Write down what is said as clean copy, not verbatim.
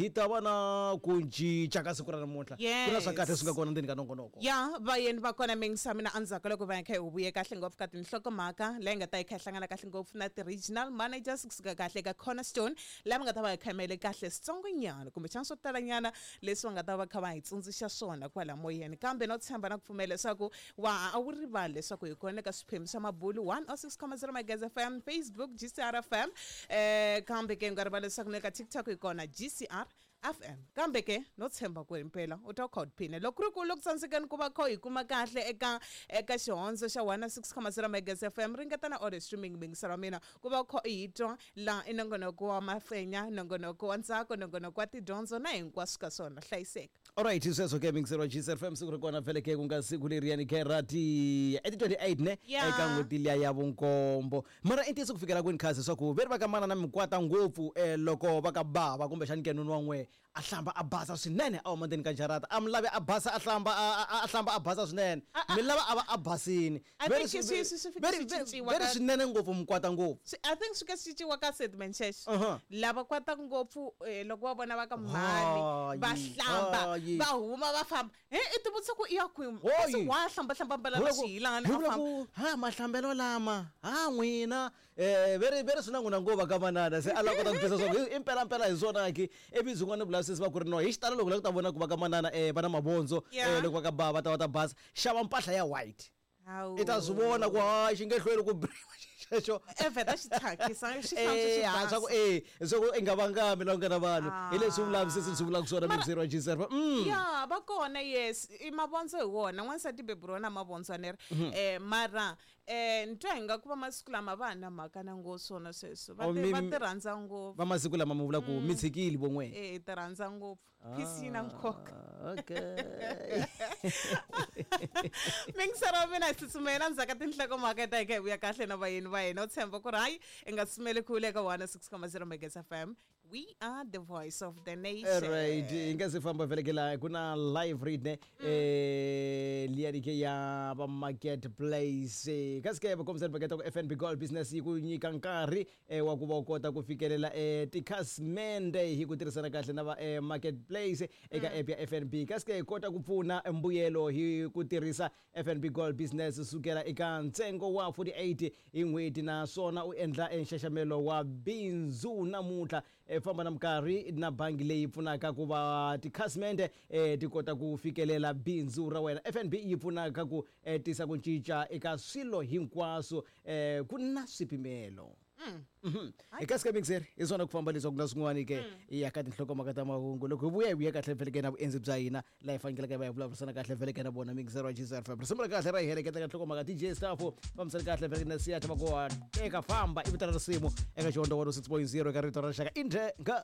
Hi ta va na ku cinca ka siku ra namuntlha. Ku na swa kahle Yes. swi nga kona ndzeni ka nongonoko. Ya vayeni va kona mingisa mina endzhaku ka loko va kha hi vuye kahle ngopfu ka tinhlokomhaka leyi nga ta yi kha yi hlangana kahle ngopfu na ti-regional managers kusuka kahle ka Cornerstone lava nga ta va hi khamele kahle switsongonyana kumbexana swo talanyana leswi va nga ta va kha va hi tsundzuxa swona kwala moyeni. Kambe no tshemba na ku pfumela leswaku wa a wu rivali leswaku hi kona eka swiphemu swa mabulu 106.0 Magezi FM, Facebook GCR FM, kambe ke u nga rivali leswaku na le ka TikTok hi kona GCR FM. Kambe ke no tshemba ku himpela u ta kha u tiphina. Loko ku ri ku loko tsandzekeni ku va kha hi kuma kahle eka xihondzo xa 106.0 Magezi FM, ringeta na audio streaming mingiselo wa mina ku va kha hi twa laha i nongonoko wa mafenya, nongonoko wa ntsako, nongonoko wa tidyondzo na hinkwaswo ka swona. Hlayiseka. Alright, sweswo ke mingiselo wa GCR FM siku ri kona vhele ke ku nga siku leriyani ke ra ti i ti 28 ne Yeah. eka n'hweti liya ya vunkombo. Mara i ntiyiso ku fikela kwini khasi leswaku ve ri va ka mana na mikwata ngopfu loko va ka bava kumbexani ke noni wa n'we a hlamba a basa swinene a huma ndzeni ka jarata a mi lavi a basa a hlamba a hlamba a basa swinene mi lava a va a basini. I Ve ri think swi swi fika ve ri swi ve ri cinciwa ve ri ka swinene ngopfu mikwata ngopfu. Swi I think swi ka swi cinciwa ka statement xexo. Uh-huh. Lava kwataka ngopfu loko va vona va ka mhani va Hayi, hlamba hayi. va huma va famba. He i ti vutisa ku i ya kwini? Hoyi. Kasi wa hlamba hlamba ambala Hi na vula ku xiyilana hi a vula famba. ku ha mahlambelo lama ha n'wina ve ri swi na n'wina ngo va ka manana se a lava kota ku twisisa swa ku i mpelampela hi swona ki ivi byin'wana vulavisisi va ku ri no hi xitalo loko u lava ku ta vona ku va ka manana va na mavondzo Yeah. loko va ka bava va ta va ta basa xava mpahla ya white. Hawu. I ta swi vona ku hayi xi nge hlweli ku brima xexo. E vheta xi thyakisa xi hlantswa xi Ha swa ku basa. swa ku i nga vangami la ku nga na vanhu hi leswi vulavisisi byi vulaka swona Mara mingiseri wa GCR. Ya va kona yes i mavondzo hi wona n'wansati beburiwa na mavondzo a ni ri mara ni twa hi nga ku va masiku lama va ha na mhaka na ngo swona sweswo va Oh, ti mi va ti rhandza ngopfu. va masiku lama mi vula ku mi tshikile vo n'we. Eh hi ti rhandza ngopfu. Peace yi na nkoka. Ah, okay. Mingisero wa mina hi tsutsumela endzhaku ka tinhlokomhaka ta hi kha hi vuya kahle na vayeni va hina u tshemba ku ri hayi i nga tsutsumeli kule eka 106.0 Magezi FM. We are the voice of the nation. Right, hi nga se famba vhele ke la ku na live read ne liya ke ya va marketplace. Kasi ke va kombisa paketa ku FNB Gold Business yi ku nyika nkarhi wa ku va u kota ku fikelela tikhasimende hi ku tirhisana kahle na va marketplace eka app ya FNB. Kasi ke hi kota ku pfuna mbuyelo hi ku tirhisa FNB Gold Business sukela eka ntsengo wa 48 hi n'hweti naswona u endla nxaxamelo wa bindzu namuntlha. Famba na minkarhi na bangi leyi pfunaka ku va tikhasimende ti kota ku fikelela bindzu ra wena. FNB yi pfunaka ku tisa ku cinca eka swilo hinkwaswo ku na swipimelo. Hi kasi ka mixer hi swona ku famba leswaku na swin'wana ke ya ka tinhlokomhaka ta mahungu loko hi vuya hi vuya kahle vhele ke na vuendzi bya hina laha hi faneleke va hi vulavurisana kahle vhele ke na vona mixer wa GCR FM. Risimu ra kahle ra hi heleketa ka nhlokomhaka DJ Staff fambisana kahle vhele ke na siya va ku teka famba i vito ra risimu eka xihondzo 106.0 eka rito ra rixaka indhe nga.